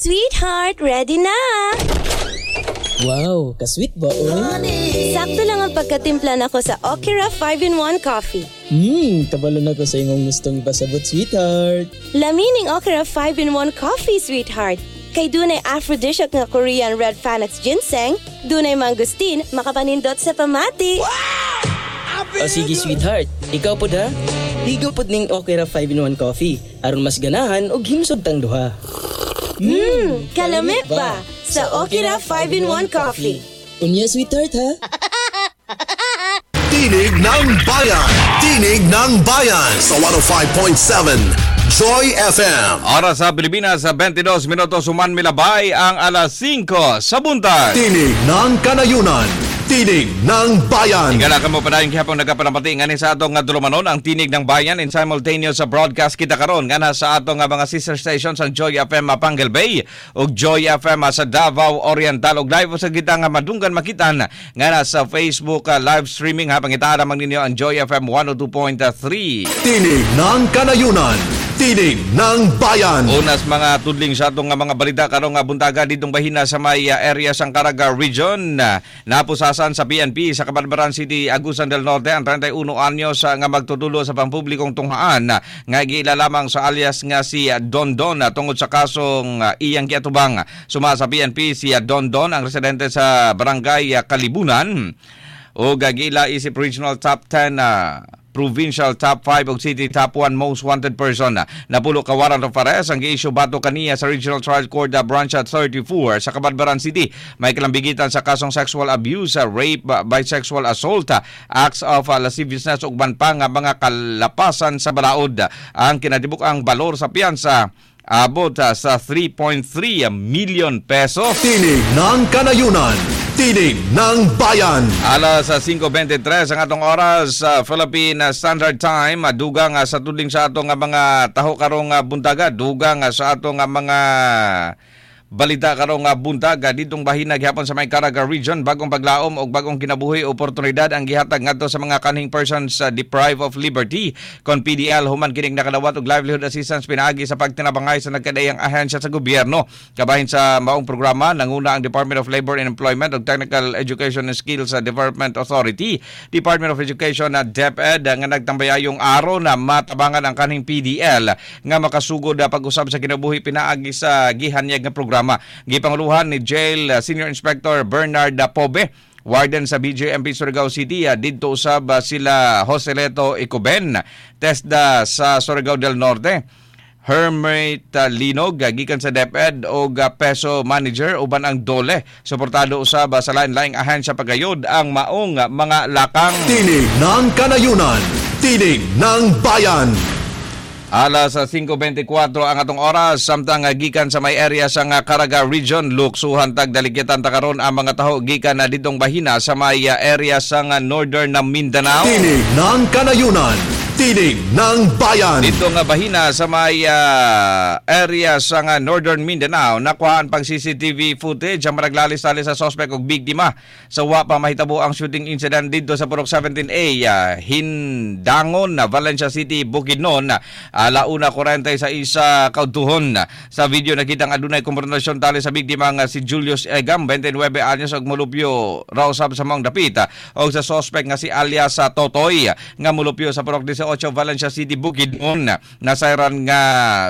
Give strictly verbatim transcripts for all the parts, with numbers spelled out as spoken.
Sweetheart, ready na! Wow, ka-sweet ba oy? Sakto lang ang pagkatimpla nako sa Okira five in one Coffee. Hmm, kabalo na ko sa imong gustong ipasabot, sweetheart. Lami ning Okira five in one Coffee, sweetheart. Kay dunay aphrodisiac nga Korean Red Panax ginseng, dunay mangosteen, makapanindot sa pamati. O sige, sweetheart, ikaw pod ha. Ligaw pod ning Okira five in one Coffee aron mas ganahan og himsog tang duha. Hmm, kalami ba? Sa Okira five in one Coffee. Unya, sweetheart, ha. Tinig ng Bayan. Tinig ng Bayan sa one oh five point seven Joy F M. Oras sa Pilipinas sa twenty-two minutos human milabay ang alas singko sa buntag. Tinig ng Kanayunan. Tinig ng Bayan. Higala kamo padayon gihapon nagapanamati ngani sa atong nga dulumanon, ang Tinig ng Bayan in simultaneous sa broadcast kita karon ngana sa atong nga mga sister stations, ang Joy F M Mapangel Bay ug Joy F M sa Davao Oriental, ug live sa kita nga madunggan makitan ngana sa Facebook uh, live streaming ha. Pangitaa lamang ninyo ang Joy F M one oh two point three. Tinig ng Kanayunan. Tinig ng Bayan. Unas mga tudling sa atong nga mga balita karong nga buntaga, ditong bahina sa may uh, area sang Caraga Region. Uh, napusasan sa P N P sa Cabadbaran City, Agusan del Norte ang trenta'y uno anyos uh, nga magtutulo sa pampublikong tunghaan uh, nga giila lamang sa alias nga si uh, Don Don uh, tungod sa kasong uh, iyang giatubang. Suma sa P N P, si uh, Don Don ang residente sa Barangay uh, Kalibunan o giila isip regional top ten, uh, provincial top five ug city top one most wanted person. Napulo ka warrant of arrest ang gi-issue batok kaniya sa Regional Trial Court uh, Branch at thirty-four sa Cabadbaran City. May kalambigitan sa kasong sexual abuse, uh, rape, uh, bisexual assault, uh, acts of uh, lasciviousness ug uban pa nga mga kalapasan sa balaod. Ang kinatibuk-ang balor sa piyansa abot uh, sa three point three million pesos. Tinig ng Kanayunan. Tinig ng Bayan. Alas sa singko bente-tres ang atong oras sa Philippine Standard Time. Dugang sa tudling sa atong mga taho karong buntaga, dugang sa atong mga balita karong buntag, ditong bahina gihapon sa may Caraga Region, bagong paglaom og bagong kinabuhi, oportunidad ang gihatag ngadto sa mga kanhing persons uh, deprived of liberty kon P D L human kining nakadawat og livelihood assistance pinaagi sa pagtinabangay sa nagkadaiyang ahensya sa gobyerno. Kabahin sa maong programa, nanguna ang Department of Labor and Employment ug Technical Education and Skills Development Authority, Department of Education at DepEd nga nagtambayayong aron na matabangan ang kanhing P D L nga makasugod pag-usab sa kinabuhi pinaagi sa gihanyag nga programa. Gipanguluhan ni Jail Senior Inspector Bernard Pobe, Warden sa B J M P Surigao City, didto usab sila Joseleto Icoben, TESDA sa Surigao del Norte, Hermit Linog gikan sa DepEd og PESO Manager uban ang DOLE. Suportado usab sa lain-laing ahensya pagayod ang maong mga lakang. Tinig ng Kanayunan. Tinig ng Bayan. Alas singko bente-kwatro ang atong oras, samtang gikan sa may area sa nga Caraga Region, luksuhan tag daligyatan ta karon ang mga taho gikan na ditong bahina sa may area sa nga Northern na Mindanao. Tinig ng Kanayunan. Tinig ng Bayan. Dito nga bahina sa may uh, area sa nga Northern Mindanao, nakuhaan pang C C T V footage ang managlalis-talis sa suspect og biktima sa wa pa mahitabo ang shooting incident dito sa Purok seventeen A, uh, Hindangon, Valencia City, Bukidnon, alauna kwarenta y sais sa kaudtuhon. Sa video nakita nga adunay konfrontasyon tali sa biktima nga si Julius Egam, twenty-nine anyos og mulupyo raw sab sa maong dapit, og sa suspect nga si alias Totoy nga mulupyo sa Purok eighteen Valencia City, Bukidnon. Nasayran nga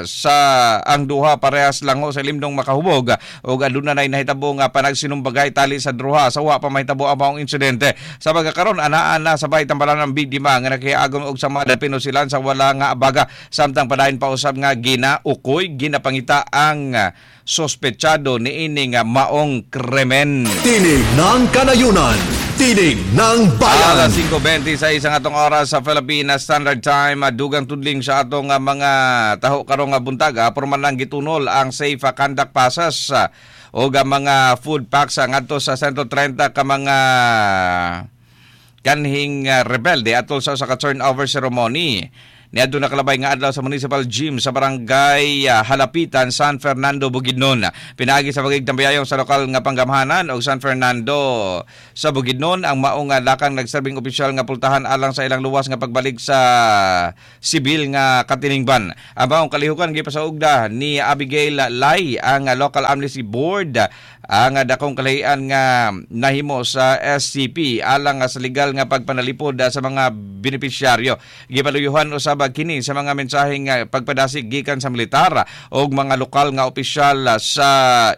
sa ang duha parehas lango sa limdong makahubog ug aduna nay nahitabo nga panagsinumbagay tali sa duha sa wa pa mahitabo ang maong insidente. Sa pagkakaron, anaa na sa bay tambalan ang biktima nga nakiagom og sama pinusilan sa wala nga abaga, samtang padayon pa usab nga ginaukoy, ginapangita ang sospechado niini nga maong krimen. Tinig ng Kanayunan. Tinig ng Bayan. Alas singko bente-sais ang atong oras sa Philippine Standard Time. Dugang tudling sa atong mga taho karong buntag. Porman lang gitunol ang safe conduct passes o mga food packs ngadto sa one hundred thirty ka mga kanhing rebelde atol sa sa turnover ceremony. Niadto nakalabay nga adlaw sa Municipal Gym sa Barangay ah, Halapitan, San Fernando, Bukidnon. Pinaagi sa pagigtambayayong sa lokal nga panggamhanan og San Fernando sa Bukidnon, ang maong nga lakang nagserbing opisyal nga pultahan alang sa ilang luwas nga pagbalik sa sibil nga katiningban. Ang maong kalihukan gipasaugda ni Abigail Lai, ang Local Amnesty Board, ang dakong kalahian nga nahimo sa S C P alang sa legal nga pagpanalipod sa mga benepisyaryo. Gipaluyuhan usab kini sa mga mensahe nga pagpadasig gikan sa militar o mga lokal nga opisyal sa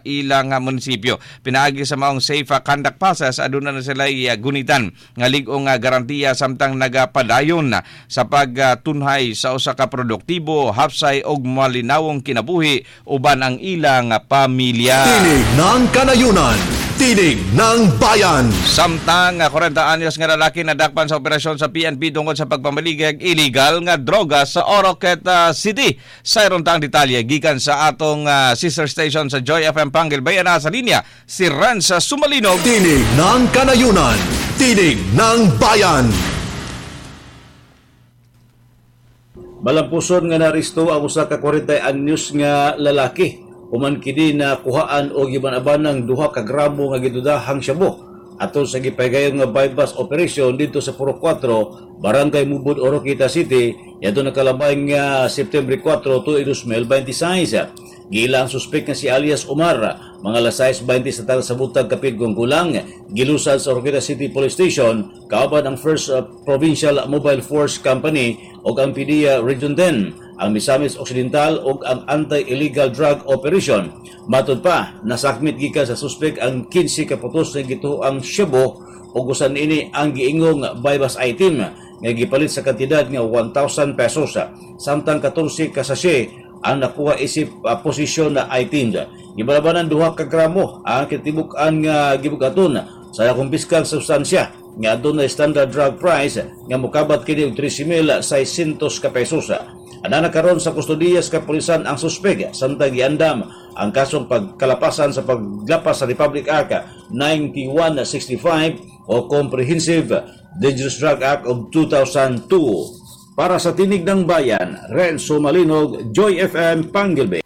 ilang munisipyo. Pinaagi sa maong safe conduct passes, aduna na sila gunitan nga lig-o nga garantiya samtang nagapadayon sa pagtunhay sa usa ka produktibo, hapsay og malinawong kinabuhi uban ang ilang pamilya. Tinig ng Kanayunan. Tinig ng Bayan. Samtang kwarenta anyos nga lalaki nadakpan sa operasyon sa P N P tungod sa pagpamaligeg illegal nga droga sa Oroquieta City. Sa tang detalye gikan sa atong uh, sister station sa Joy F M Panguil Bay, na sa linya si Renza Sumalinog. Tinig ng Kanayunan. Tinig ng Bayan. Malampuson nga naresto ang usa ka kwarenta anyos nga lalaki human kini na kuhaan og giban-abanang duha ka gramo nga gidudahang shabu atol sa gipahigayon nga buy-bust operation dito sa Purok kwatro, Barangay Mubod, Oroquieta City, yadto nakalabay nga September kwatro, dalawang libo labing walo. Giila ang suspek nga si alias Omar, mga alas sais balintawat sa tagal sa butag kapid gulang, gilusad sa Oroquieta City Police Station, kauban ang First uh, Provincial Mobile Force Company ug ang P D E A Region ten, ang Misamis Occidental ug ang Anti-Illegal Drug Operation. Matod pa, nasakmit gikan sa suspek ang kinse ka putos nga gituoang shabu ug usan ini ang giingong buy-bust item nga gipalit sa kantidad nga one thousand pesos. Samtang katorse ka sachet ang nakuha isip uh, posisyon na items. Gibalabanan duha ka gramo ang kitibuk-an nga gibugaton sa nakumpiskang substansya nga adunay standard drug price nga mokabat kini og tres mil seisyentos ka pesos. Anana karon sa kustodiya sa kapulisan ang suspek samtang giandam ang kasong pagkalapasan sa paglapas sa Republic Act ninety-one sixty-five o Comprehensive Dangerous Drug Act of two thousand two. Para sa Tinig ng Bayan, Renzo Malinog, Joy F M, Panguil Bay.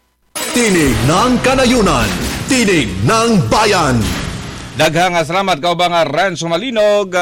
Tinig ng Kanayunan. Tinig ng Bayan. Daghang salamat, kaubang Renzo Malinog,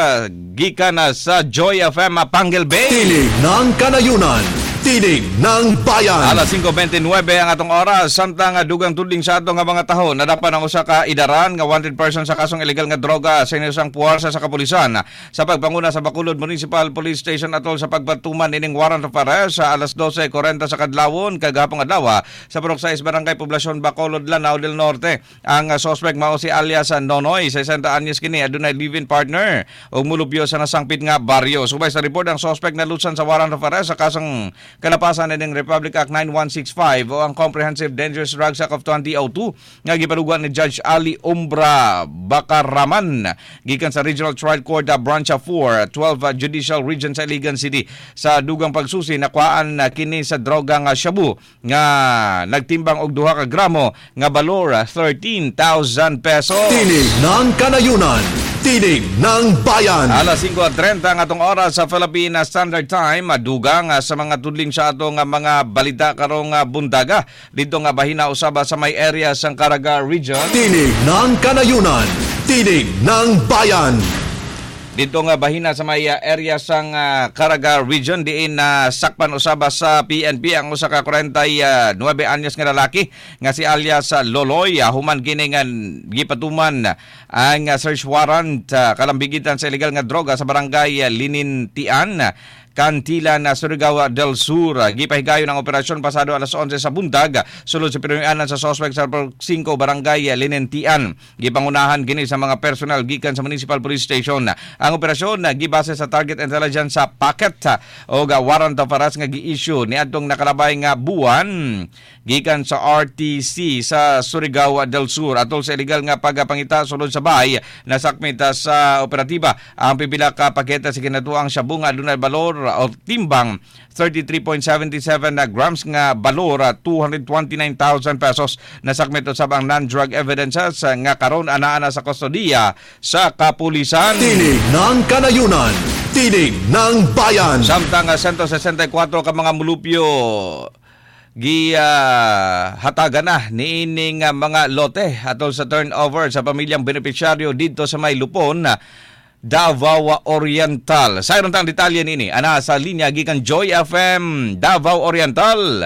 gikan na sa Joy F M Panguil Bay. Tinig ng Kanayunan. Tinig ng Bayan. Alas singko balintawat ang atong oras, samtang dugang tudling sa atong nga mga taho nadakpan ang usa ka idaran nga wanted person sa kasong illegal nga droga sa isang puwersa sa kapulisan sa pagpanguna sa Bacolod Municipal Police Station atol sa pagpatuman ining warrant of arrest sa alas dose kwarenta sa kadlawon kagahapon adlaw sa Purok sais, Barangay Poblacion, Bacolod, Lanao del Norte. Ang suspect mao si alias Nonoy, sesenta anyos kini, adunay live-in partner ug mulupyo sa nasangpit nga baryo. Subay sa report, ang suspect nalusan sa warrant of arrest sa kasong kalapasan ng Republic Act ninety-one sixty-five o ang Comprehensive Dangerous Drugs Act of two thousand two nga gipaluguan ni Judge Ali Umbra Bakaraman gikan sa Regional Trial Court uh, Branch four, twelve uh, Judicial Region sa Iligan City. Sa dugang pagsusi, nakuhaan uh, kini sa droga nga shabu nga nagtimbang og duha ka gramo nga balor uh, thirteen thousand pesos. Tinig ng Kanayunan. Tinig ng Bayan. Alas singko trenta ang atong oras sa Philippine Standard Time. Dugang sa mga tudling sa atong mga balita karong buntaga. Dito nga bahina usaba sa may area sang Caraga Region. Tinig ng Kanayunan. Tinig ng Bayan. Dito nga bahina sa may uh, area sang uh, Caraga Region, diin na uh, sakpan usaba sa P N P ang usa ka kwarenta y nuwebe anyos nga lalaki nga si alias uh, Loloy uh, human kini nga gipatuman ang uh, search warrant uh, kalambigitan sa illegal nga droga sa Barangay uh, Linintian, Cantilan, na Surigao del Sur. Gipahigayon ang operasyon pasado alas onse sa buntag sulod sa pinuy-anan sa suspect sa singko, Barangay Linentian. Gipangunahan kini sa mga personal gikan sa Municipal Police Station. Ang operasyon gibase sa target intelligence sa packet o warrant of arrest nga gi-issue niadtong nakalabay nga buwan gikan sa R T C sa Surigao del Sur atol sa illegal nga pagpangita sulod sa bahay. Nasakmit sa operatiba ang pipila ka pakete sa kinatuang shabu nga adunay balor o timbang thirty-three point seven seven na grams nga balor two hundred twenty-nine thousand pesos. Nasakmit usab ang non-drug evidences nga karon anaa na sa kustodiya sa kapulisan. Tinig ng Kanayunan. Tinig ng Bayan. Samtang uh, one sixty-four ka mga mulupyo gi uh, hatagan na niining uh, mga lote atol sa turnover sa pamilyang benepisyaryo dito sa may Lupon, Davao Oriental. Sa tang detalye niini, ana sa linya gikan Joy F M Davao Oriental.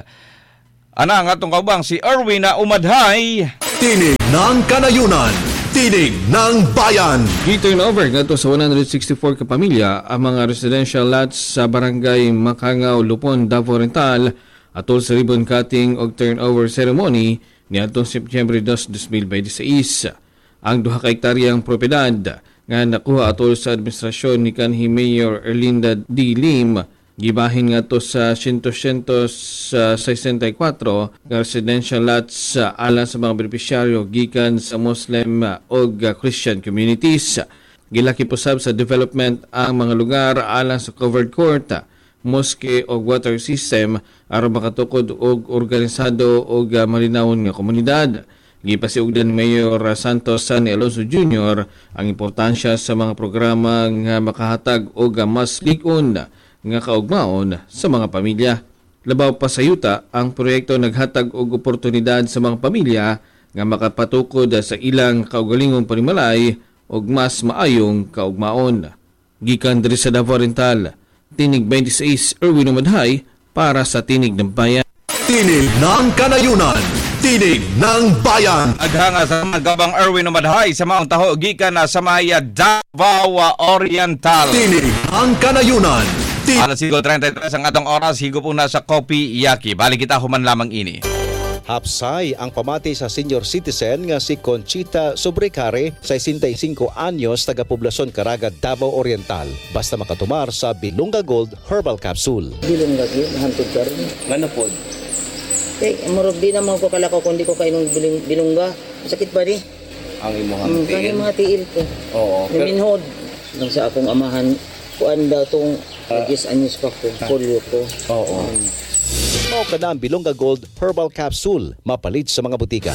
Ana ang atong kaubang si Erwin na Umadhay. Tinig ng Kanayunan. Tinig ng Bayan. Gi-turnover ngadto sa one hundred sixty-four ka pamilya ang mga residential lots sa Barangay Makangaw, Lupon, Davao Oriental atol sa ribbon cutting og turnover ceremony niadtong Setyembre two, twenty twenty-six. Ang duha ka hektaryang propiedad nga nakuha atol sa administrasyon ni kanhi Mayor Erlinda D. Lim gibahin ngadto sa one hundred sixty-four nga residential lots alang sa mga benepisyaryo gikan sa Muslim ug Christian communities. Gilakip usab sa development ang mga lugar alang sa covered court, mosque o water system aron makatukod og organisado ug malinawon nga komunidad. Gipasiugdan ni Mayor Santos Sonny Alonzo Junior ang importansya sa mga programa nga makahatag og mas lig-on nga kaugmaon sa mga pamilya. Labaw pa sa yuta, ang proyekto naghatag og oportunidad sa mga pamilya nga makapatukod sa ilang kaugalingong panimalay ug mas maayong kaugmaon. Gikan diri sa Davao Oriental, Tinig twenty-six, Erwin Umadhay para sa Tinig ng Bayan. Tinig ng Kanayunan. Tinig ng Bayan. Daghang salamat, Gabang Erwin Umadhay, sa maong taho gikan na sa may Davao Oriental. Tinig ng Kanayunan. Tinig Alas singko trentay tres ang atong oras, higop una sa Kopi Yaki. Balik kita human lamang ini. Hapsay ang pamati sa senior citizen nga si Conchita Sobrecare, sesenta y singko anyos, taga Poblasyon Caraga, Davao Oriental. Basta makatumar sa Bilunga Gold Herbal Capsule. Bilong lagi, hantod karon. Ngano pod? Eh, murag di naman ko kalakaw kung di ko kainom biling, bilongga. Sakit ba di? Ang imong Mm, kani mga tiil ko. Oo. Miminhod. Nang sa akong amahan, kuan daw tong uh, anyos pa ko, polio ko. Oo. Mao kana ang Bilonga Gold Herbal Capsule, mapalit sa mga butika.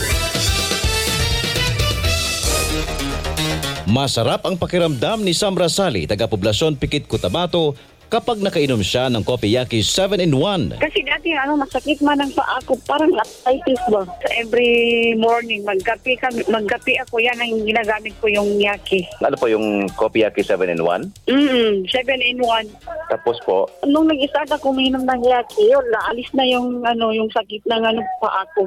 Masarap ang pakiramdam ni Sam Rasali, taga Poblasyon Pikit, Cotabato, kapag nakainom siya ng Kopiyaki seven in one. Kasi dati ano, masakit man ang paa ko, parang arthritis ba. So, every morning, magkape, kami, magkape ako, yan ang ginagamit ko, yung Yaki. Ano po yung Kopiyaki seven in one? Mm, seven in one. Tapos po, Nung nag-start ako uminom ng Yaki, yun, naalis na yung, ano, yung sakit ng ano, paa ko.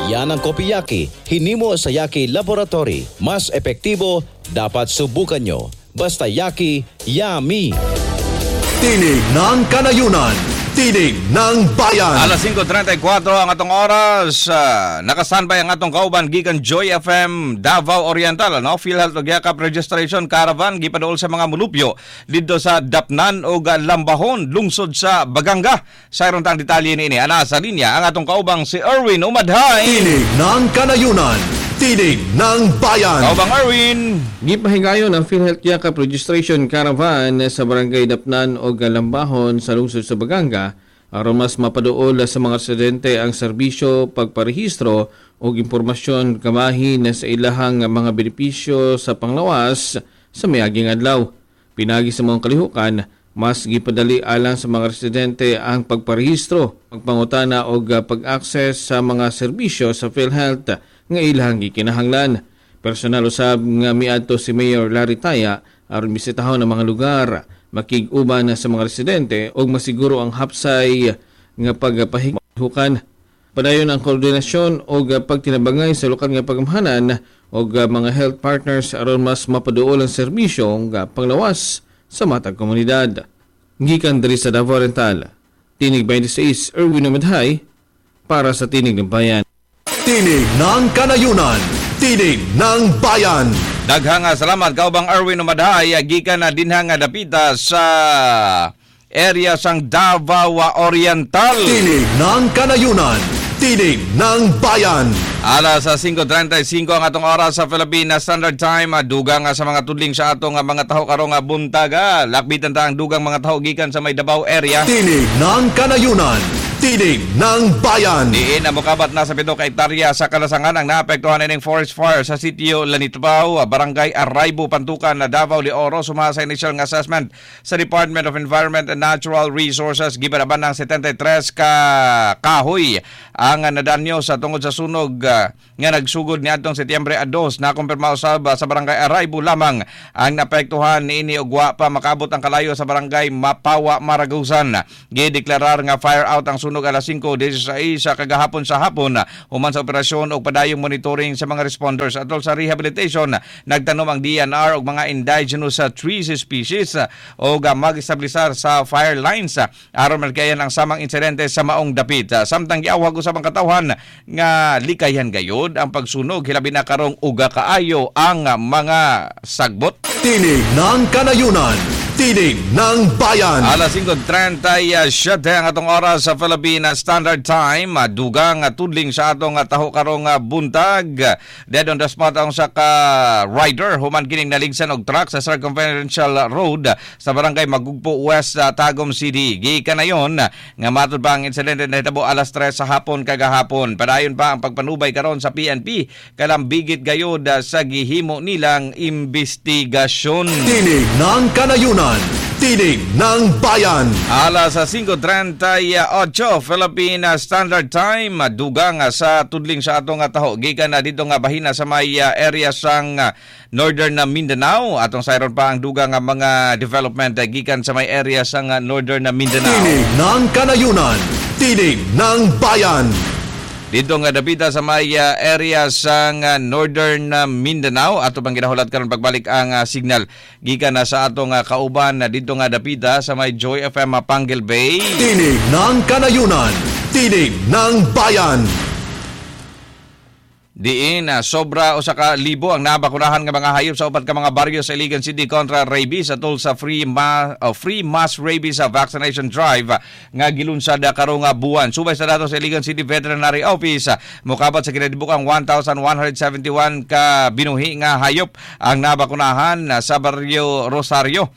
Yan ang Kopiyaki, hinimo sa Yaki Laboratory. Mas epektibo, dapat subukan nyo. Basta Yaki, yummy! Tinig ng Kanayunan. Tinig ng Bayan. Alas singko trentay kuwatro ang atong oras. Uh, nakastanby ang atong kauban gikan Joy F M Davao Oriental, ano? PhilHealth ug Yakap Registration Caravan gipaduol sa mga mulupyo didto sa Dapnan ug Lambahon, lungsod sa Baganga. Sa tang detalye niini, ana sa linya ang atong kaubang si Erwin Umadhay. Tinig ng Kanayunan. Tinig ng Bayan. Kaubang Erwin. Gipahigayon ang PhilHealth Yakap Registration Caravan sa Barangay Dapnan o Lambahon sa lungsod sa Baganga aron mas mapaduol sa mga residente ang serbisyo pagparehistro o impormasyon kamahin sa ilahang mga benepisyo sa panglawas sa miaging adlaw. Pinagi sa mga kalihukan, mas gipadali alang sa mga residente ang pagparehistro, pagpangutana o pag-access sa mga serbisyo sa PhilHealth nga ilang gikinahanglan. Personal usab nga miadto si Mayor Larry Taya aron bisitahon ang mga lugar, makig-uban sa mga residente ug masiguro ang hapsay nga pagpahihukan. Padayon ang koordinasyon og pagtinabangay sa lokal nga pagamhanan og mga health partners aron mas mapaduol ang serbisyo nga panglawas sa matag komunidad. Gikan diri sa Davao Oriental, Tinig twenty-six, Erwin Umadhay para sa Tinig ng Bayan. Tinig ng Kanayunan. Tinig ng Bayan. Daghang salamat, Kaubang Erwin Umadhay, gikan na dinha nga dapita sa area sang Davao Oriental. Tinig ng Kanayunan. Tinig ng Bayan. Alas sa singko trentay singko ang atong oras sa Philippine Standard Time. Dugang sa mga tudling sa atong mga taho karong buntaga. Lakbitan ta ang dugang mga taho gikan sa may Davao area. Tinig ng Kanayunan. Tinig ng Bayan. Diin na mokabat na sa pito ka hektarya sa kalasangan ang naapektuhan ining forest fire sa sitio Lanitbaw, Barangay Araybo, Pantukan, na Davao de Oro. Sumaya sa initial nga assessment sa Department of Environment and Natural Resources, gibanaban ng seventy-three ka kahoy ang nadanyo sa tungod sa sunog ah, nga nagsugod niadtong Setyembre two. Nakumpirma usab sa Barangay Araybo lamang ang naapektuhan niini ug wa pa makabot ang kalayo sa Barangay Mapawa, Maragusan. Gideklarar nga fire out ang sunog alas singko sesenta y sais sa kagahapon sa hapon human sa operasyon og padayong monitoring sa mga responders. Atol sa rehabilitation, nagtanom ang D E N R og mga indigenous uh, trees species og uh, mag-establisar sa fire lines uh, aron malikayan ang samang insidente sa maong dapit. Uh, Samtang giawhag usab ang katawhan nga likayan gayod ang pagsunog, hilabi na karong uga kaayo ang uh, mga sagbot. Tinig ng Kanayunan. Tinig ng Bayan. Alas singko trenta y siyete ang atong oras sa Philippine Standard Time. Dugang tudling sa atong taho karong buntag. Dead on the spot ang sa ka rider human kining naligsan og truck sa Circumferential Road sa Barangay Magugpo West, Tagum City. Gikanayon nga matud pa ang insidente nahitabo alas tres sa hapon kagahapon. Padayon pa ang pagpanubay karon sa P N P kalambigit gayod sa gihimo nilang investigasyon. Tinig ng Kanayunan. Tinig ng Bayan. Alas sa singko trenta y otso Philippine Standard Time, dugang sa tudling sa atong taho gikan na dito nga bahina sa may uh, area sang uh, Northern Mindanao. Atong sayron pa ang dugang nga mga development uh, gikan sa may area sang uh, Northern Mindanao. Tinig ng Kanayunan. Tinig ng Bayan. Dito nga dapita sa may uh, area sang uh, Northern uh, Mindanao, ato pang ginahulat karon pagbalik ang uh, signal gikan na sa atong uh, kauban na dito nga dapita sa may Joy F M uh, Panguil Bay. Tinig ng Kanayunan. Tinig ng Bayan. Diin na sobra usa ka libo ang nabakunahan nga mga hayop sa upat ka mga baryo sa Iligan City kontra rabies atol sa free ma, oh, free mass rabies vaccination drive nga gilunsad karong buwan. Subay sa datos sa Iligan City Veterinary Office, mokabat sa kinatibukang one thousand one hundred seventy-one ka binuhi nga hayop ang nabakunahan sa baryo Rosario,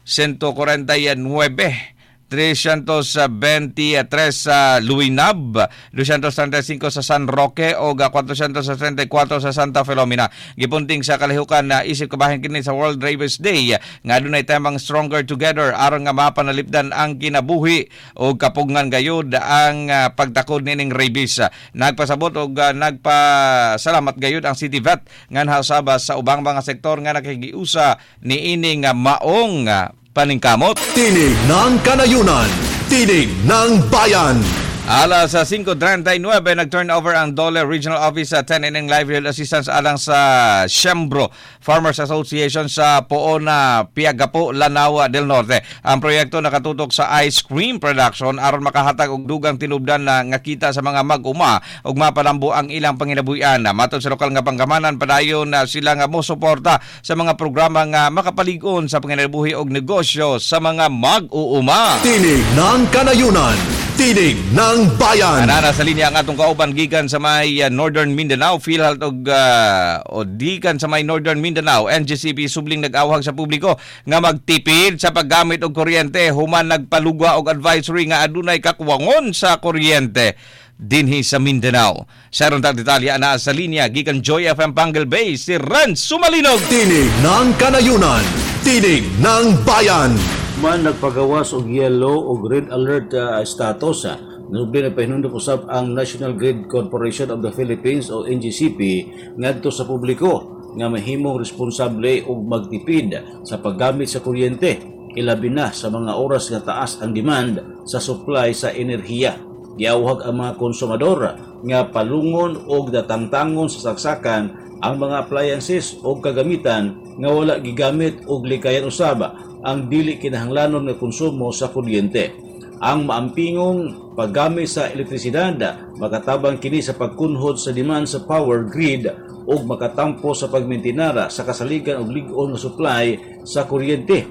one hundred forty-nine, three hundred twenty-three sa Luinab, two hundred thirty-five sa San Roque o four hundred thirty-four sa Santa Filomena. Gipunting sa kalihukan na isip kabahin kini sa World Rabies Day nga adunay temang "Stronger Together" aron nga mapanalipdan ang kinabuhi o kapugngan gayud ang ah, pagtakod nining rabies. Nagpasabot og ah, nagpasalamat gayud ang City Vet nga nahasaba sa ubang mga sektor nga nakigiusa niining ah, maong ah, paningkamot. Tinig ng Kanayunan. Tinig ng Bayan. Alas sa singko trenta y nuwebe, nag-turnover ang DOLE Regional Office sa ten ining livelihood assistance alang sa Sembro Farmers Association sa Poona, Piagapo, Lanao del Norte. Ang proyekto nakatutok sa ice cream production aron makahatag og dugang tinubdan na nga kita sa mga mag-uma ug mapalambo ang ilang panginabuhian. Matod sa lokal nga panggamanan, padayon na sila nga mosuporta sa mga programa nga makapalig-on sa panginabuhi og negosyo sa mga mag-uuma. Tinig ng Kanayunan. Tinig ng Bayan. Anana sa linya ang atong kauban gikan sa may uh, Northern Mindanao, PhilHealth og uh, o gikan sa may Northern Mindanao, N G C P subling nag-awhag sa publiko nga magtipid sa paggamit og kuryente human nagpalugwa og advisory nga adunay kakuwangon sa kuryente dinhi sa Mindanao. Sa aron tag detalye, ana sa linya gikan Joy F M Panguil Bay si Ren Sumalinog. Tinig ng Kanayunan. Tinig ng Bayan. Man nagpagawas og yellow o red alert uh, status uh, Nubli nagpahinumdom usab ang National Grid Corporation of the Philippines o N G C P ngadto sa publiko nga mahimong responsable ug magtipid sa paggamit sa kuryente, ilabi na sa mga oras nga taas ang demand sa supply sa enerhiya. Giawhag ang mga konsumador nga palungon og datangtangon sa saksakan ang mga appliances o kagamitan nga wala gigamit og likayan usab ang dili kinahanglanon nga konsumo sa kuryente. Ang maampingong paggamit sa elektrisidad makatabang kini sa pagkunhod sa demand sa power grid ug makatampo sa pagmentinara sa kasaligan og lig-on nga supply sa kuryente.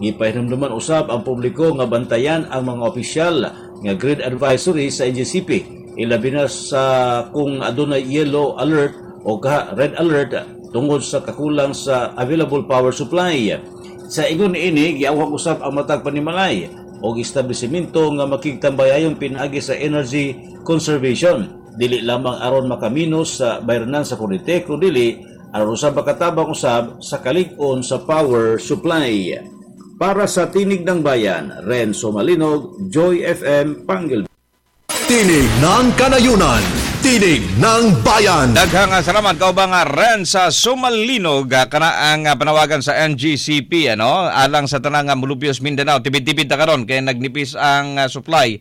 Gipahinumduman usab ang publiko nga bantayan ang mga opisyal nga grid advisory sa N G C P, ilabi na sa kung adunay yellow alert o kaha red alert tungod sa kakulang sa available power supply. Sa ingon niini, giawhag usab ang matag panimalay o establishmento nga makigtambayayon pinaagi sa energy conservation. Dili lamang aron makaminos sa bayranan sa kuryente, kun dili aron usab makatabang usab sa kalig-on sa power supply. Para sa Tinig ng Bayan, Renzo Malinog, Joy F M, Pangil. Tinig ng Kanayunan, Tinig ng Bayan. Daghang salamat kaubang Renza Sumalinog, kana ang panawagan sa N G C P ano alang sa tanang Molupios Mindanao. Tibid-tibid ta karon kay nagnipis ang supply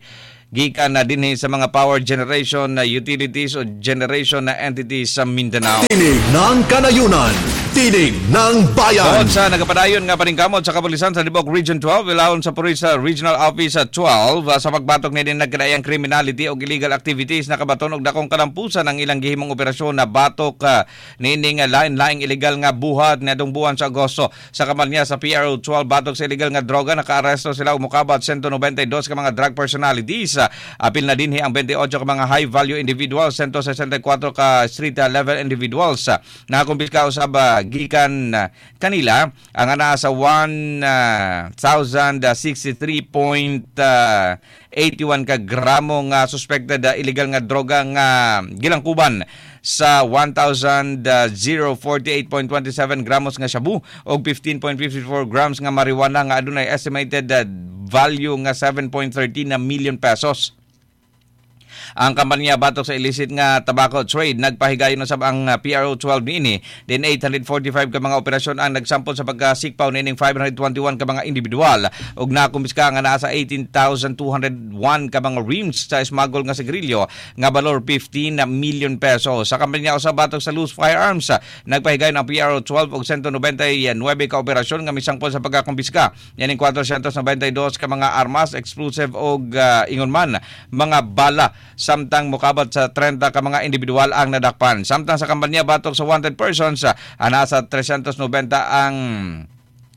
gikan na dinhi sa mga power generation na utilities o generation na entities sa Mindanao. Tinig ng Kanayunan, Tinig ng Bayan. Bukod sa nagapadayon nga paningkamot sa kapulisan sa Libok Region twelve, ilawon sa Puris Regional Office twelve sa pagbatok ni nagkadaiyang criminality o illegal activities, nakabaton og dakong kalampusan ang ilang gihimong operasyon na batok uh, niining lain-laing illegal nga buhat niadtong buwan sa Agosto. Sa kamalnya sa P R O twelve, batok sa illegal nga droga, nakaaresto sila og mokabat one ninety-two ka mga drug personalities. Apil na dinhi ang twenty-eight ka mga high value individuals, one sixty-four ka street level individuals. Nakakumpiska usab gikan kanila ang ana sa one thousand sixty-three point eight one ka gramo nga suspected illegal nga droga nga gilangkuban sa one thousand forty-eight point two seven gramos nga shabu og fifteen point five four grams nga marijuana nga adunay estimated value nga seven point one three na million pesos. Ang kampanya batok sa illicit nga tobacco trade nagpahigayon na sab ang P R O twelve niini. Din eight hundred forty-five ka mga operasyon ang nagsampol sa pagkasikpaw niining five hundred twenty-one ka mga individual ug nakumpiska nga naa sa eighteen thousand two hundred one ka mga rims sa smuggle nga sigarilyo nga balor fifteen million pesos. Sa kampanya usab batok sa loose firearms nagpahigayon ang P R O twelve og one ninety-nine ka operasyon nga misangpol sa pagkakumpiska niining four ninety-two ka mga armas, explosive og uh, ingon man mga bala, samtang mukabat sa thirty ka mga individual ang nadakpan. Samtang sa kampanya batok sa wanted persons, nasa three ninety ang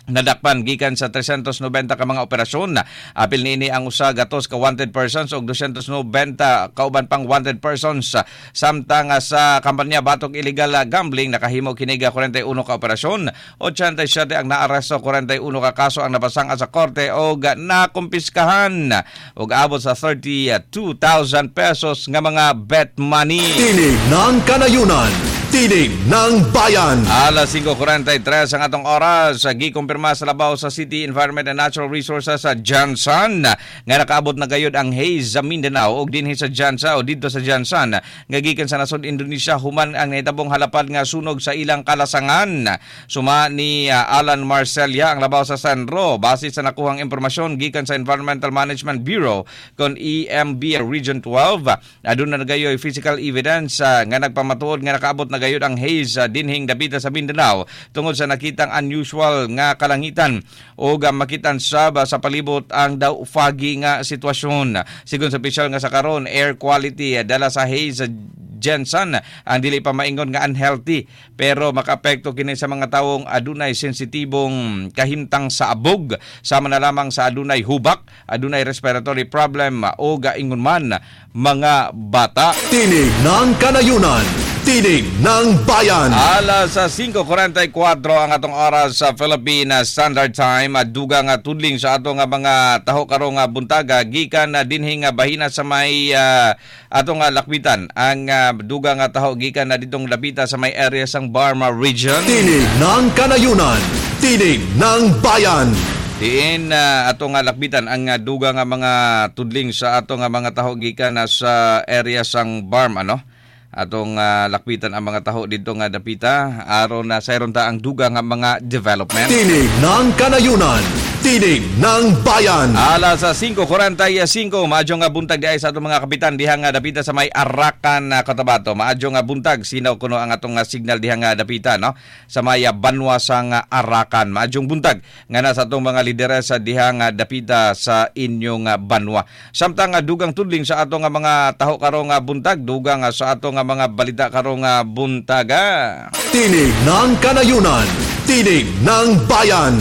nadakpan gikan sa three ninety ka mga operasyon. Apil niini ang usa gatos ka wanted persons og two ninety kauban pang wanted persons. Samtang sa kampanya batok illegal gambling nakahimo kini ga forty-one ka operasyon, eighty-seven ang naaresto, forty-one ka kaso ang napasang sa korte og nakumpiskahan og abot sa thirty-two thousand pesos nga mga bet money. Tinig ng Kanayunan, Tinig ng Bayan. Alas five forty-three ang atong oras. Gikumpirma sa labaw sa City Environment and Natural Resources sa Jansan nga nakaabot na gayud ang haze sa Mindanao og dinhi sa Jansa o didto sa Jansan nga gikan sa nasod Indonesia human ang nahitabong halapad nga sunog sa ilang kalasangan. Suma ni Alan Marcelia ang labaw sa Sanro base sa nakuhang impormasyon gikan sa Environmental Management Bureau kon E M B Region twelve, aduna na gayoy physical evidence uh, nga nagpamatuod nga nakaabot na gayud ang haze uh, dinhing dapita sa Mindanao tungod sa nakitang unusual nga kalangitan o uh, makitan sab sa palibot ang daw foggy nga sitwasyon. Sigon sa opisyal nga sa karon, air quality uh, dala sa haze uh, Jensen ang dili pa maingon nga unhealthy pero makaapekto kini sa mga tawong adunay sensitibong kahimtang sa abog, sama na lamang sa adunay hubak, adunay respiratory problem o gaingon man mga bata. Tinig ng Kanayunan, Tinig ng Bayan. Alas sa five forty-four ang atong oras sa Philippine Standard Time. Duga nga tudling sa atong mga taho karong buntaga gikan na dinhi nga bahina sa may uh, atong uh, lakbitan. Ang uh, duga nga taho gikan na ditong lapita sa may area sang Barma Region. Tinig ng Kanayunan, Tinig ng Bayan. Diin uh, atong uh, lakbitan ang uh, duga nga mga tudling sa atong uh, mga taho gikan na sa area sang Barm, ano? Atong uh, lakbitan ang mga taho dito nga dapita aron na sayron ta ang duga nga mga development. Tinig ng Kanayunan, Tinig ng Bayan. Alas sa five forty-five, maadyo nga buntag diay sa atong mga kapitan diha nga dapita sa may Arakan na Cotabato. Maadyo nga buntag, sinaw kuno ang atong signal diha nga dapita, no? Sa may banwa sang Arakan. Maadyong buntag nga na sa atong mga lideresa diha nga dapita sa inyong banwa. Samtang dugang tudling sa atong mga taho karong buntag, dugang sa atong mga balita karong buntaga. Tinig ng Kanayunan, Tinig ng Bayan.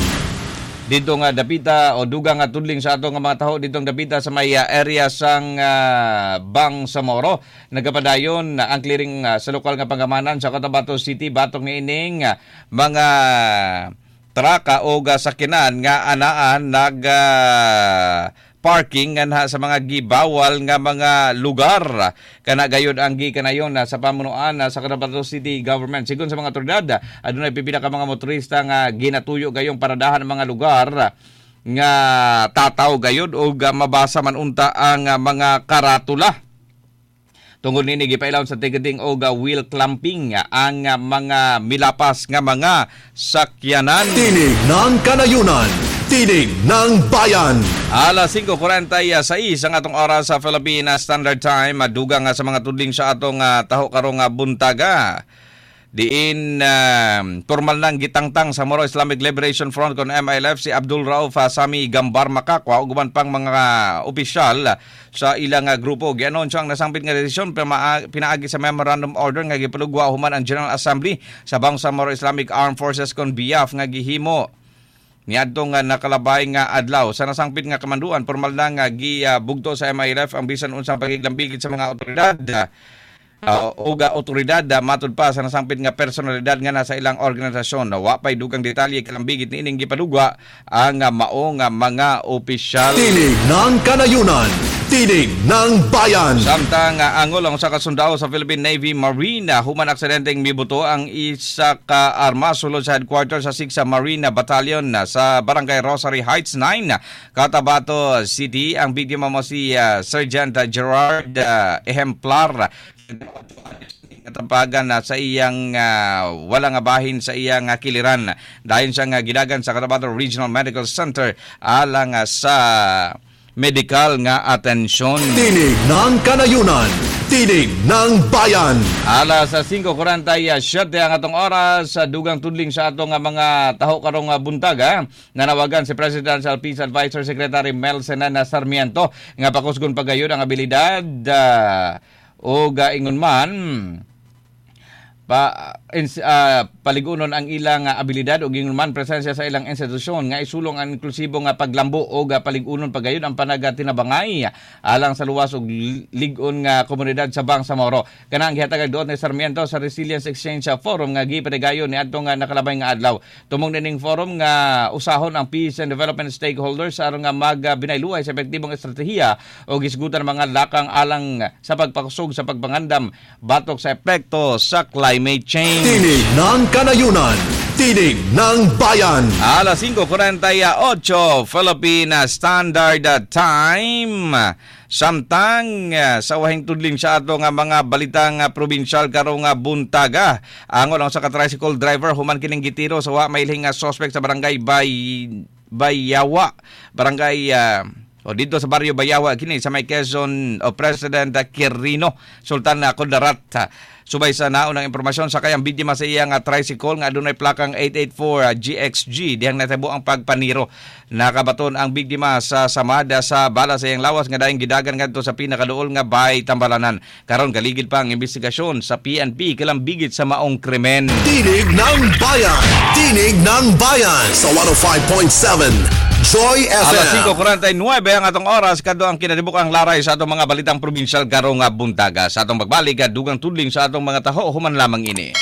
Dito nga dapita o dugang nga tudling sa atong mga taho ditong dapita sa may area sang uh, Bangsamoro. Nagapadayon uh, ang clearing uh, sa lokal nga pangamanan sa Cotabato City batok niining uh, mga traka o uh, sakinan nga anaan nag uh, parking nganha sa mga gibawal nga mga lugar. Kana gayud ang gikanayon na sa pamunuan sa Cotabato City Government. Sigon sa mga otoridad, adunay pipila ka mga motorista nga ginatuyo gayong paradahan ng mga lugar nga tataw gayud og mabasa man unta ang mga karatula. Tungod nini gipailawon sa ticketing og wheel clamping ang mga milapas nga mga sakyanan. Tinig ng Kanayunan, Tinig ng Bayan. Alas singko kwarenta y sais ang atong oras sa Philippine Standard Time. Dugang nga sa mga tudling sa atong uh, taho karong uh, buntaga. Diin uh, formal nang gitangtang sa Moro Islamic Liberation Front kon M I L F si Abdul Rauf Sami Gambar Makakwa ug uban pang mga opisyal sa ilang uh, grupo. Gianunsyo ang nasangpit nga desisyon pinaagi sa memorandum order nga gipalugwa human ang General Assembly sa Bangsamoro Islamic Armed Forces kon BIAF nga gihimo niadtong nga nakalabay nga adlaw. Sa nasangpit nga kamanduan, formal na nga gibugto sa M I L F ang bisan unsang pagiglambigit sa mga otoridad Uh, ug otoridad uh, matud pa sa nasangpit nga personalidad nga nasa ilang organisasyon. Wa pay dugang detalye kalambigit niining gipadugwa ang uh, mao nga mga opisyal. Tinig ng Kanayunan, Tinig ng Bayan. Samtang uh, angol ang usa ka sundao sa Philippine Navy Marine human aksidenteng mibuto ang isa ka armas sulod sa headquarters sa six Marine Battalion uh, sa Barangay Rosary Heights nine, Cotabato City. Ang biktima mo si uh, Sergeant Gerard uh, Ehemplar, katapagan na sa iyang uh, wala nga bahin sa iyang uh, kiliran. Dayon siya nga gidagan sa Cotabato Regional Medical Center alang uh, sa medical nga atensyon. Tinig ng Kanayunan, Tinig ng Bayan. Alas singko kwarenta y siyete ang atong oras, sa dugang tudling sa atong mga taho karong buntag ha. Nanawagan si Presidential Peace Advisor Secretary Mel Senana Sarmiento nga pakusgon pagayon ang abilidad uh, o ingon man pa ins, uh, paligunon ang ilang uh, abilidad ug ingon man presensya sa ilang institusyon nga isulong ang inklusibo nga paglambo og uh, paligunon pagayon ang panagatinabangay alang sa luwas ug lig-on nga komunidad sa Bangsamoro. Kana ang gihatag duot ni Sarmiento sa Resilience Exchange Forum nga gipanigayon ni adtong uh, nakalabay nga adlaw. Tumong nining forum nga usahon ang peace and development stakeholders aron nga magbinayluay sa epektibong estratehiya o gisgutan mga lakang alang sa pagpakusog sa pagpangandam batok sa epekto sa climate change. Tinig ng Kanayunan, Tinig ng Bayan. Alas singko kwarenta y otso Philippine Standard Time. Samtang sa wahing tudling sa ato nga mga balitang probinsyal karong buntaga. Angol ang sa ka tricycle driver human kining gitiro sa wa mailhing nga suspect sa barangay Bay Bayawa. Barangay uh, o dito sa baryo Bayawa kini sa may Quezon o President Quirino, Sultan Kudarat. Subay sa naunang impormasyon, sa kayang biktima sa iyang uh, tricycle nga adunay plakang eight eight four G X G dihang natabo ang pagpaniro. Nakabaton ang biktima sa samada sa bala sa iyang lawas nga dayong gidagan ngadto sa pinakaduol nga Bay Tambalanan. Karon kaligid pa ang investigasyon sa P N P kalambigit sa maong krimen. Tinig ng Bayan, Tinig ng Bayan sa one oh five point seven Joy F M. Alas singko kwarenta y nuebe ang atong oras, kadto ang kinatibuk-ang laray sa atong mga balitang probinsyal karong buntaga. Sa atong pagbalik, dugang tudling sa atong mga taho human lamang ini.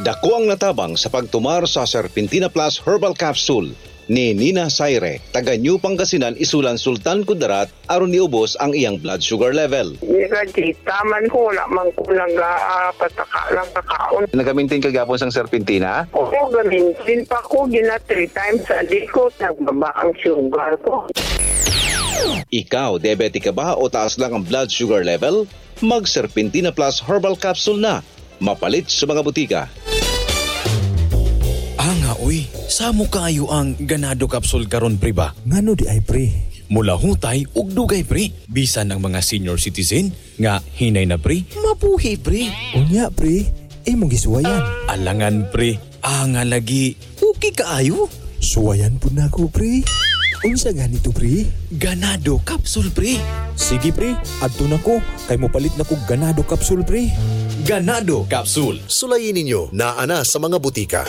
Dako ang natabang sa pagtumar sa Serpentina Plus Herbal Capsule ni Nina Saire, taga New Pangasinan, Isulan, Sultan Kudarat, aron niubos ang iyang blood sugar level. Nagkita man ko, wala man ko nag-pataka lang kakaon. Nagamintin ka gapon sang Serpentina? Oo, gamintin pa ko, gina three times a day ko, nagbaba ang sugar ko. Ikaw, diabetic ka ba o taas lang ang blood sugar level? Mag Serpentina Plus Herbal Capsule na. Mapalit sa mga butika. Anga oy, samo kaayo ang Ganado Capsule karon, pre, ba? Ngano di ay, pre? Mula hutay ug dugay, pre. Bisan ang mga senior citizen nga hinay na, pre, mabuhi, pre. Unya, pre, imong gisuwayan? Alangan, pre, anga lagi. Okay kaayo. Suwayan pud nako, pre. Unsa ganito, pre? Ganado Capsule, pre. Sige, pre, adto na ko kay mopalit na kog Ganado Capsule, pre. Ganado Capsule. Sulayin ninyo naa na sa mga butika.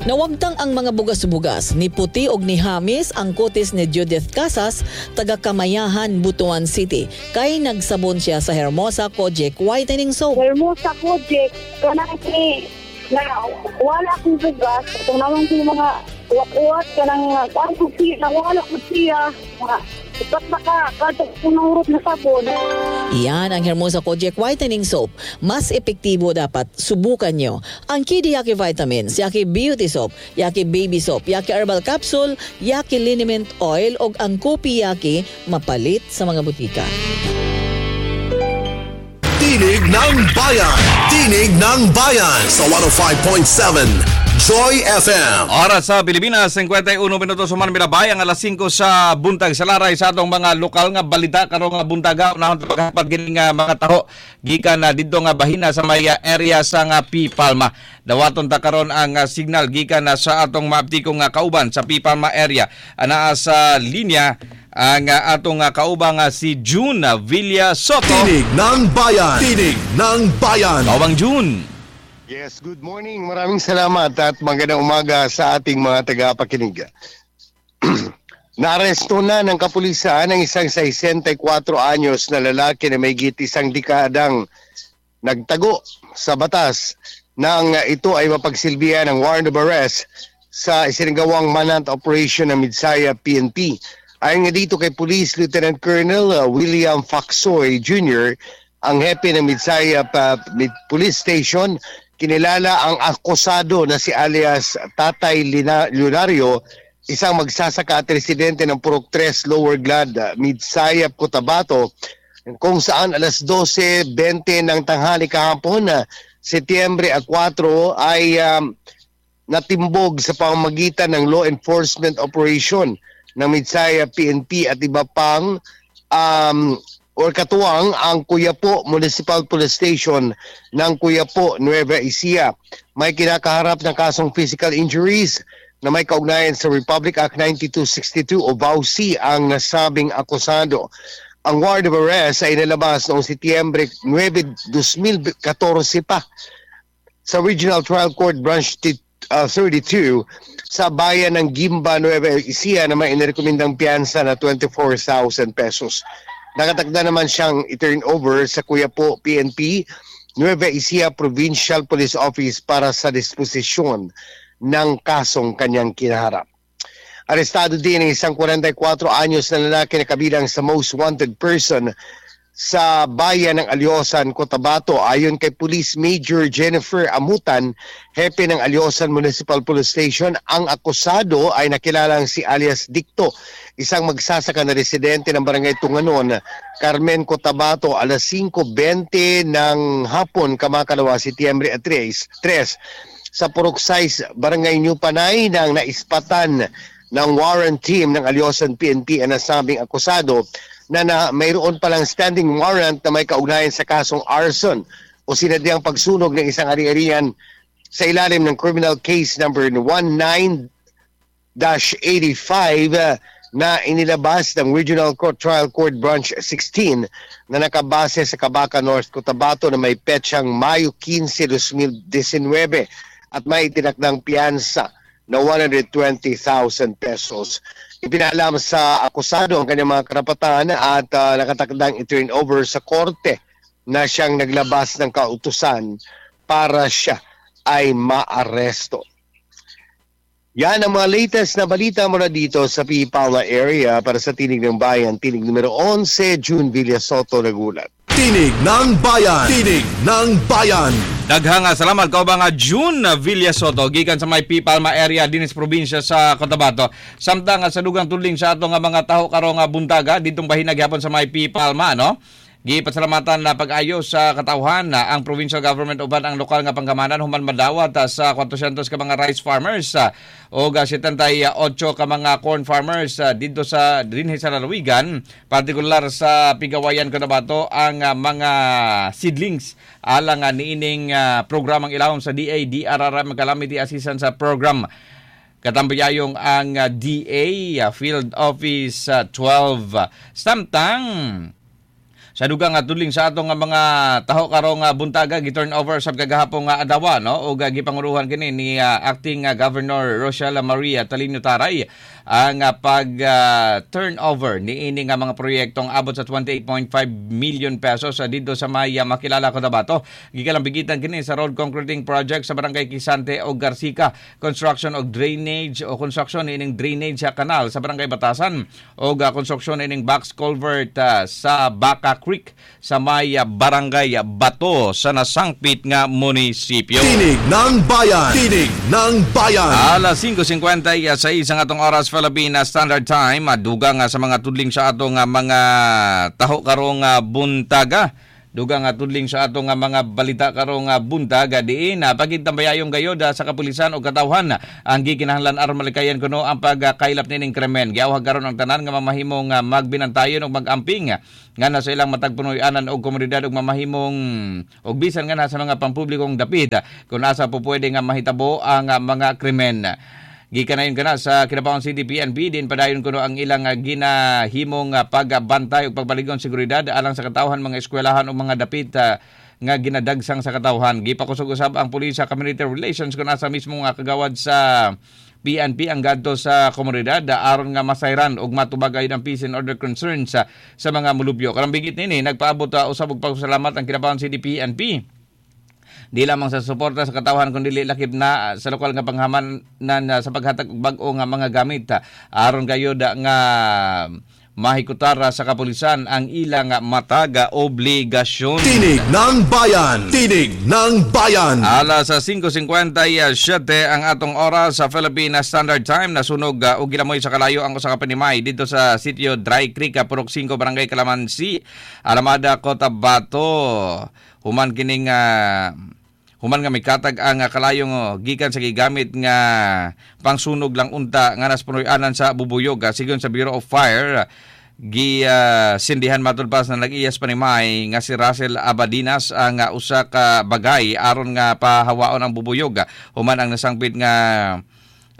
Nawagtang ang mga bugas-bugas, ni puti og ni hamis ang kutis ni Judith Casas, taga Kamayahan, Butuan City. Kay nagsabon siya sa Hermosa Kojic Whitening Soap. Hermosa Kojic, kanang na wala akong bugas, itong naman ko yung mga Uwat-uwat ka ng kuan ko siya, nawala ko siya. Upat na ka, kada punurot na sabon. Yan ang Hermosa Kojic Whitening Soap. Mas epektibo dapat subukan nyo. Ang Kidi Yaki Vitamins, Yaki Beauty Soap, Yaki Baby Soap, Yaki Herbal Capsule, Yaki Liniment Oil o ang Kopi Yaki mapalit sa mga butika. Tinig ng Bayan. Tinig ng Bayan sa one oh five point seven Joy F M. Oras sa Pilipinas, singkwenta y uno minuto suman milabay ang alas singko sa buntag sa laray sa atong mga lokal nga balita karong nga buntaga. Unahon paghapat gini nga mga taho gikan na didto nga bahina sa may area sa nga P. Palma. Dawaton ta karon ang ah, signal gikan na sa atong maaptiko nga kauban sa P. Palma area. Anaa sa linya ang ah, atong ah, kauban nga si June Villa Soto. Tinig ng Bayan. Tinig ng Bayan. Kaubang June. Yes, good morning. Maraming salamat at magandang umaga sa ating mga tagapakinig. Naaresto na ng kapulisan ang isang sesenta y kuwatro anyos na lalaki na may isang dekadang nagtago sa batas nang ito ay mapagsilbihan ng warrant of arrest sa isinagawang manhunt operation ng Midsayap P N P. Ayon nga dito kay Police Lieutenant Colonel uh, William Faxoy Junior, ang hepe ng Midsayap uh, Police Station, kinilala ang akusado na si alias Tatay Lina- Leonario, isang magsasaka at residente ng Purok tres, Lower Glad, Midsayap, Cotabato, kung saan alas dose bente ng tanghali kahapon, uh, Setyembre four ay um, natimbog sa pamamagitan ng law enforcement operation ng Midsayap P N P at iba pang um, or katuwang ang Cuyapo Municipal Police Station ng Cuyapo, Nueva Ecija. May kinakaharap ng kasong physical injuries na may kaugnayan sa Republic Act ninety-two sixty-two o V A U C ang nasabing akusado. Ang warrant of arrest ay nilabas noong Setyembre nine, twenty fourteen pa sa Regional Trial Court Branch uh, thirty-two sa bayan ng Guimba, Nueva Ecija na may inirekomendang piyansa na twenty-four thousand pesos. Nakatakda naman siyang i-turn over sa Cuyapo P N P Nueva Ecija Provincial Police Office para sa disposisyon ng kasong kanyang kinaharap. Arestado din ang isang kuwarenta y kuwatro anyos na lalaki na kabilang sa most wanted person sa bayan ng Aliosan, Cotabato. Ayon kay Police Major Jennifer Amutan, hepe ng Aliosan Municipal Police Station, ang akusado ay nakilalang si alias Dicto, isang magsasaka na residente ng Barangay Tunganon, Carmen, Cotabato, alas singko bente ng hapon, kamakalawa, Setyembre tres, tres sa Purok sais, Barangay New Panay, nang naispatan ng warrant team ng Aliosan P N P ang nasabing akusado na, na mayroon palang standing warrant na may kaugnayan sa kasong arson o sinadyang pagsunog ng isang ari-arian sa ilalim ng criminal case number nineteen dash eighty-five uh, na inilabas ng Regional Court Trial Court Branch sixteen na nakabase sa Kabaca North, Cotabato na may petsang Mayo fifteen, twenty nineteen at may itinakdang piyansa na one hundred twenty thousand pesos. Ipinalam sa akusado ang kanyang mga karapatan at uh, nakatakdang i-turn over sa korte na siyang naglabas ng kautusan para siya ay maaresto. Yan ang mga latest na balita mula dito sa P. Palma area para sa Tinig ng Bayan. Tinig numero eleven, June Villa Soto, nagulat. Tinig ng Bayan. Tinig ng Bayan. Daghang nga salamat kaubang nga June Villa Soto gikan sa may P. Palma area dinis probinsya sa Cotabato. Samtang nga sa dugang tudling sa ato nga mga taho karong nga buntaga ditong bahina gihapon sa may P. Palma, no. Gipasalamatan na pag-ayo sa katawhan na ang provincial government uban ang lokal nga panggamanan human madawat ah, sa four hundred ka mga rice farmers ah, o seventy-eight ka mga corn farmers ah, didto sa dinhi sa lalawigan, partikular sa Pigawayan, Cotabato, ang ah, mga seedlings alang uh, niining ah, programang ilawom sa D A D R R M Calamity Assistance Program. Katambayayong ang ah, D A ah, Field Office ah, twelve. Samtang Sa dugang nga tudling sa atong nga mga taho karong nga buntaga, gi-turn over sa kagahapon nga adlaw, no, ug gipanguruhan kini ni uh, acting uh, Governor Rochelle Maria Talino Taray ang uh, pag uh, turnover niini nga mga proyektong abot sa twenty-eight point five million pesos uh, dito sa may uh, Makilala, Cotabato. Gikalambigitan kini sa road concreting project sa Barangay Kisante o Garcica, construction og drainage o construction ining drainage sa kanal sa Barangay Batasan o uh, construction ining box culvert uh, sa Baca Creek sa may uh, Barangay Bato sa nasangpit nga munisipyo. Tinig ng Bayan. Tinig ng Bayan. Alas singko singkwenta y sais ang atong oras, Philippine Standard Time. Dugang sa mga tudling sa atong mga taho karong buntaga. Dugang nga tudling sa atong mga balita karong buntaga, diin pagitabayayong gayod sa kapulisan o katawhan ang gikinahanglan aron malikayan kuno ang pagkailap nining krimen. Giawhag karon ang tanan nga mamahimong magbinantayon og magamping nga sa ilang matag punoy-anan og komunidad og mamahimong og bisan nga sa mga pampublikong dapit kung asa po pwede nga mahitabo ang mga krimen. Gikanayon kana sa Kidapawan City P N P din padayon kuno ang ilang ginahimong pagbantay ug pagpaligon seguridad alang sa katawhan, mga eskwelahan o mga dapit uh, nga ginadagsang sa katawhan. Gipakusog usab ang pulis sa community relations kung asa mismo nga kagawad sa P N P ang gadto sa komunidad aron nga masayran ug matubag ang peace and order concerns sa, sa mga mulupyo. Karambigit nini, nagpaabot uh, usab og pagpasalamat ang Kidapawan City P N P di lamang sa suporta sa katawhan kundi lakip na sa lokal nga panghamanan sa paghatag og bag-o nga mga gamit aron gayud nga mahikutar sa kapulisan ang ilang mataga obligasyon. Tinig ng Bayan! Tinig ng Bayan! Alas sa singko singkwenta y siyete ang atong oras sa Philippine Standard Time. Nasunog uh, og gilamoy sa kalayo ang usa ka panimay dito sa sitio Dry Creek, Purok singko, Barangay Kalamansi, Alamada, Cotabato. Human kining uh, human nga mikatag ang kalayong oh, gikan sa gigamit nga pangsunog lang unta nga nas punoy-anan sa bubuyog. Sigon sa Bureau of Fire, gi uh, sindihan matud pa sa nag-iyas panimay nga si Russell Abadinas ang uh, usa ka bagay aron nga pahawaon ang bubuyog. Human ang nasangpit nga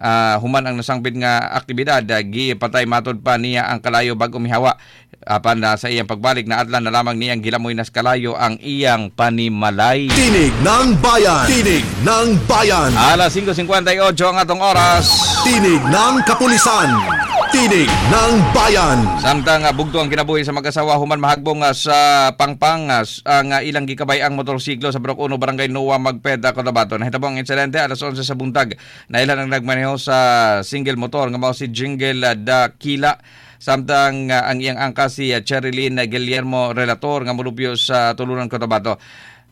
uh, human ang nasangpit nga aktibidad, uh, gipatay matud pa niya ang kalayo bago mihawa. Apan uh, sa iyang pagbalik, naadlan na lamang niyang gilamoy nas kalayo ang iyang panimalay. Tinig ng Bayan! Tinig ng Bayan! Alas singko singkwenta y otso ang atong oras. Tinig ng Kapulisan! Tinig ng Bayan! Samtang uh, bugto ang kinabuhi sa mag-asawa human mahagbong uh, sa pangpang uh, ang uh, ilang gikabay ang motorsiklo sa Purok Uno, Barangay Noa, Magpet, Cotabato. Nahitabo ang insidente alas onse sa buntag. Nailhan ang nagmaneho sa single motor nga mao si Jingle uh, Dakila, samtang uh, ang iyang angka si uh, Cherilyn Guillermo Relator nga molupyo sa Tulunan, Cotabato.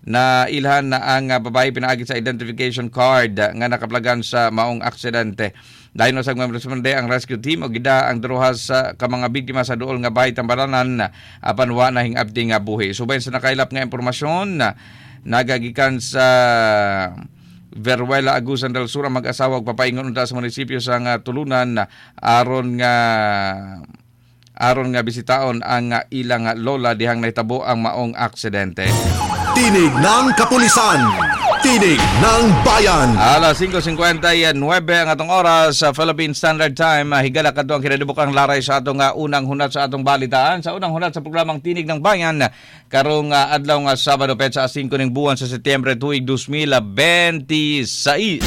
Na ilhan na ang uh, babae pinaagi sa identification card uh, nga nakaplagan sa maong aksidente. Dayon na sa responde ang rescue team o gida ang duha sa ka mga biktima sa duol nga bahay tambalanan, apan wa na hingabti nga buhi. Subay sa nakailap nga impormasyon, nagagikan sa Veruela, Agusan del Sur ang mag-asawa ug papaingon unta sa munisipyo sa nga Tulunan aron nga aron nga bisitaon ang ilang lola dihang nahitabo ang maong aksidente. Tinig ng Kapulisan. Tinig ng Bayan. Alas singko singkwenta y nuwebe ang atong oras sa Philippine Standard Time. Higala kadto ang kinadibukang laray sa atong uh, unang hunat sa atong balitaan. Sa unang hunat sa programang Tinig ng Bayan karong uh, adlaw nga Sabado, petsa singko ning buwan sa Setyembre tuig dalawang libo bente sais.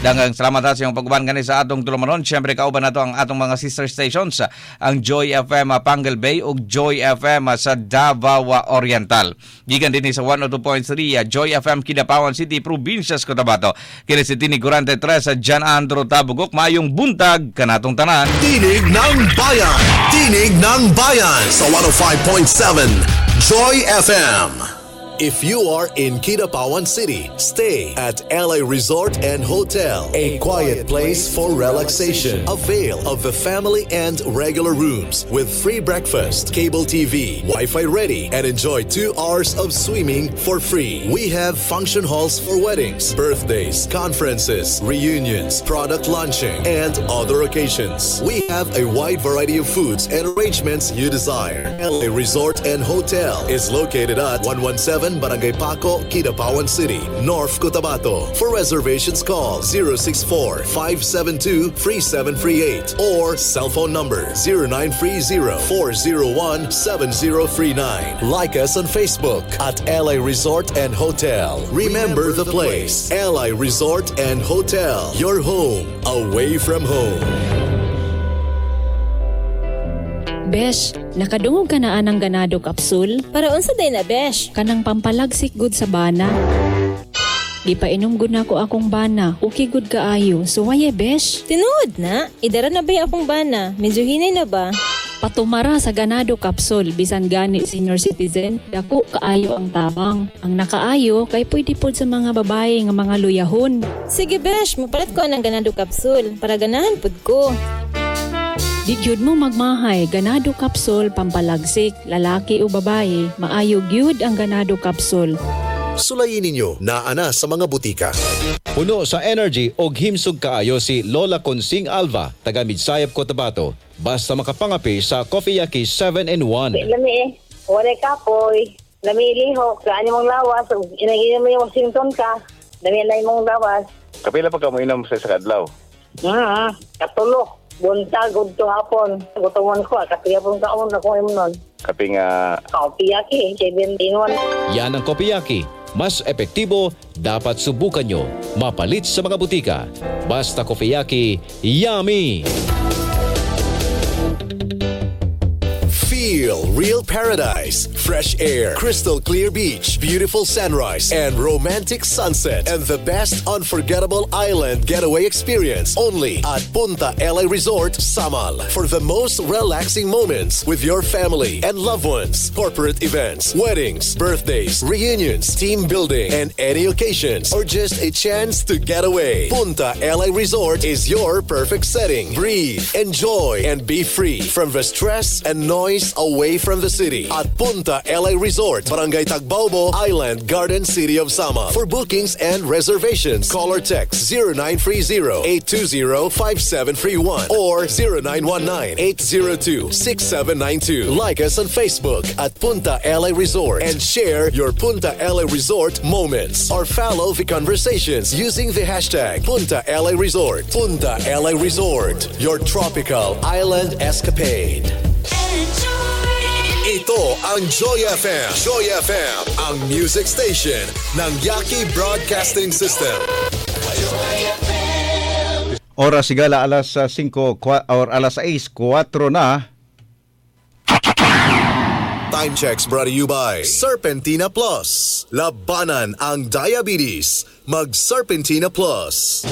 Daghang salamat ha sa iyong pag-uban gani sa atong tulumanon. Siyempre, kauban nato ang atong mga sister stations, ang Joy F M Panguil Bay ug Joy F M sa Davao Oriental. Gikan din sa one oh two point three Joy F M Kidapawan City, Probinsya sa Cotabato. Kini si Tinig Kurante tres sa John Andro Tabugok. Maayong buntag kanatong tanan. Tinig ng Bayan. Tinig ng Bayan sa one oh five point seven Joy F M. If you are in Kidapawan City, stay at L A Resort and Hotel, a quiet place for relaxation. Avail of the family and regular rooms with free breakfast, cable T V, Wi-Fi ready, and enjoy two hours of swimming for free. We have function halls for weddings, birthdays, conferences, reunions, product launching, and other occasions. We have a wide variety of foods and arrangements you desire. L A Resort and Hotel is located at one one seven seven, Barangay Paco, Kidapawan City, North Cotabato. For reservations, call zero six four, five seven two, three seven three eight or cell phone number zero nine three zero, four zero one, seven zero three nine. Like us on Facebook at L I Resort and Hotel. Remember the place, L I Resort and Hotel, your home away from home. Besh, nakadungog ka na anang Ganado Capsule? Para unsa day na, Besh? Kanang pampalagsik gud sa bana. Gipainom gud nako akong bana. Okay gud kaayo. Suwaye, Besh. Tinuod na? Idara na ba akong bana? Medyo hinay na ba? Patumara sa Ganado Capsule, bisan gani senior citizen, dako kaayo ang tabang. Ang nakaayo kay pwede pod sa mga babae nga mga luyahon. Sige, Besh, mapalit ko ang Ganado Capsule para ganahan pud ko. Di gyud mo magmahay, Ganado Capsule pampalagsik, lalaki o babae, maayo gyud ang Ganado Capsule. Sulayin ninyo naa na sa mga butika. Puno sa energy og himsog kaayo si Lola Consing Alva, taga Midsayap, Cotabato. Basta makapangapi sa Coffee Yaki seven in one. Lami eh, wala kapoy, lami lihok, kaan imong lawas, inagin mo yung Washington ka, lami na imong lawas. Kapila pa ka mo inom sa isa ka adlaw? Hmm, katulo. Buntag, udto hapon. Gutomon ko, kape hapon kaon ako imnon. Kape nga... Coffee Yaki, seven in one. Yan ang Coffee Yaki. Mas epektibo, dapat subukan nyo. Mapalit sa mga butika. Basta Coffee Yaki, yummy! Feel real paradise, fresh air, crystal clear beach, beautiful sunrise, and romantic sunset, and the best unforgettable island getaway experience only at Punta L A Resort, Samal. For the most relaxing moments with your family and loved ones, corporate events, weddings, birthdays, reunions, team building, and any occasions, or just a chance to get away. Punta L A Resort is your perfect setting. Breathe, enjoy, and be free from the stress and noise away from the city at Punta L A Resort, Barangay Tagbaobo, Island Garden City of Samal. For bookings and reservations, call or text zero nine three zero, eight two zero, five seven three one or zero nine one nine, eight zero two, six seven nine two. Like us on Facebook at Punta L A Resort and share your Punta L A Resort moments or follow the conversations using the hashtag Punta L A Resort. Punta L A Resort, your tropical island escapade. Ito ang Joy F M. Joy F M, ang music station ng Yaki Broadcasting System. Oras sigala alas singko or alas sais kuwatro na. Time checks brought to you by Serpentina Plus. Labanan ang diabetes. Mag Serpentina Plus.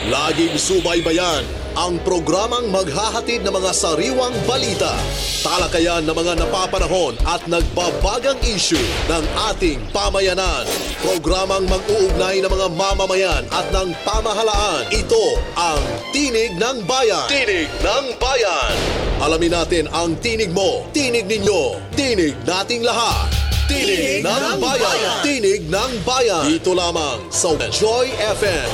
Laging subaybayan ang programang maghahatid ng mga sariwang balita, talakayan ng mga napapanahon at nagbabagang issue ng ating pamayanan. Programang mag-uugnay ng mga mamamayan at ng pamahalaan. Ito ang Tinig ng Bayan. Tinig ng Bayan. Alamin natin ang tinig mo, tinig ninyo, tinig nating lahat. Tinig, Tinig ng, ng Bayan. Bayan. Tinig ng Bayan. Dito lamang sa Joy F M.